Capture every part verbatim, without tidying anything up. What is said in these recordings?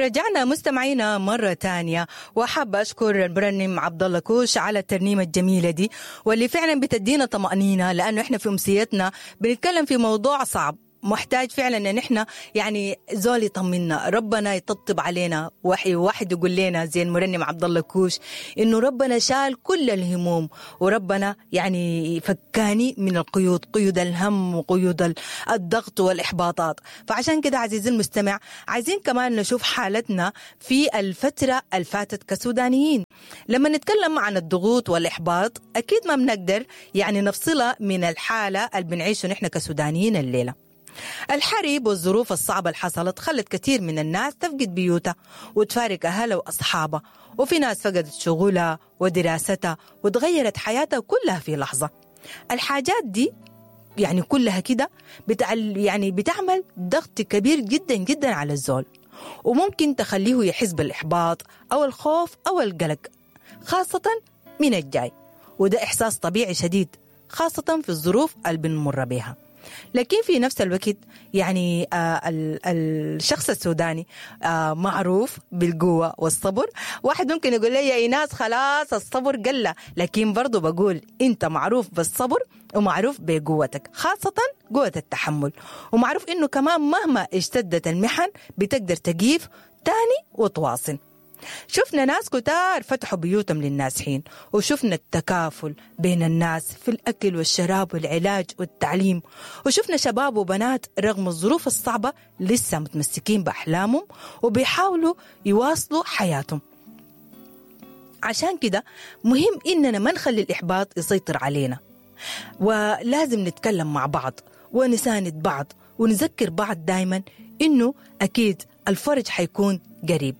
رجعنا مستمعينا مرة تانية، وحابة أشكر المرنم عبد الله كوش على الترنيمة الجميلة دي واللي فعلا بتدينا طمأنينة، لأنه إحنا في أمسيتنا بنتكلم في موضوع صعب محتاج فعلا ان احنا يعني زول يطمنا، ربنا يطبطب علينا، وحي واحد يقول لنا زي المرنم عبد الله كوش انه ربنا شال كل الهموم، وربنا يعني فكاني من القيود، قيود الهم وقيود الضغط والاحباطات. فعشان كده عزيزي المستمع عايزين كمان نشوف حالتنا في الفترة الفاتت كسودانيين. لما نتكلم عن الضغوط والاحباط اكيد ما بنقدر يعني نفصلها من الحالة اللي بنعيشه نحن كسودانيين الليلة. الحرب والظروف الصعبة اللي حصلت خلت كثير من الناس تفقد بيوتها وتفارق أهلها وأصحابها، وفي ناس فقدت شغلها ودراستها وتغيرت حياتها كلها في لحظة. الحاجات دي يعني كلها كده بتعل يعني بتعمل ضغط كبير جدا جدا على الزول، وممكن تخليه يحس بالإحباط أو الخوف أو القلق، خاصة من الجاي، وده إحساس طبيعي شديد خاصة في الظروف اللي بنمر بها. لكن في نفس الوقت يعني آه الشخص السوداني آه معروف بالقوة والصبر. واحد ممكن يقول لي يا إيناس خلاص الصبر قل، لكن برضو بقول أنت معروف بالصبر ومعروف بقوتك، خاصة قوة التحمل، ومعروف إنه كمان مهما اشتدت المحن بتقدر تقيف تاني وتواصل. شفنا ناس كتار فتحوا بيوتهم للنازحين، وشفنا التكافل بين الناس في الأكل والشراب والعلاج والتعليم، وشفنا شباب وبنات رغم الظروف الصعبة لسه متمسكين بأحلامهم وبيحاولوا يواصلوا حياتهم. عشان كده مهم إننا ما نخلي الإحباط يسيطر علينا، ولازم نتكلم مع بعض ونساند بعض ونذكر بعض دايما إنه أكيد الفرج حيكون قريب.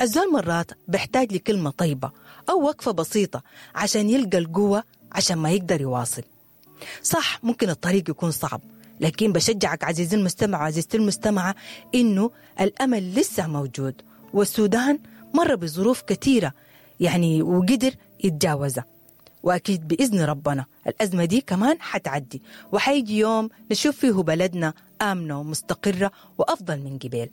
الزول مرات بيحتاج لكلمة طيبة أو وقفة بسيطة عشان يلقى القوة عشان ما يقدر يواصل. صح ممكن الطريق يكون صعب، لكن بشجعك عزيزي المستمع وعزيزتي المستمعة إنه الأمل لسه موجود، والسودان مر بظروف كثيرة يعني وقدر يتجاوزها، وأكيد بإذن ربنا الأزمة دي كمان حتعدي، وحيجي يوم نشوف فيه بلدنا آمنة ومستقرة وأفضل من قبل.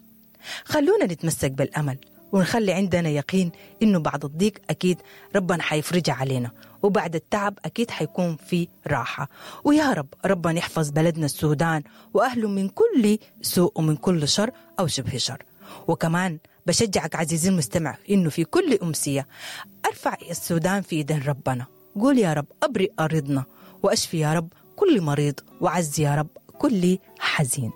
خلونا نتمسك بالأمل ونخلي عندنا يقين إنه بعد الضيق أكيد ربنا حيفرجها علينا، وبعد التعب أكيد حيكون في راحة. ويا رب ربنا يحفظ بلدنا السودان وأهله من كل سوء ومن كل شر أو شبه شر. وكمان بشجعك عزيزي المستمع إنه في كل أمسية أرفع السودان في إيدين ربنا، قول يا رب أبرئ أرضنا، وأشفي يا رب كل مريض، وعز يا رب كل حزين.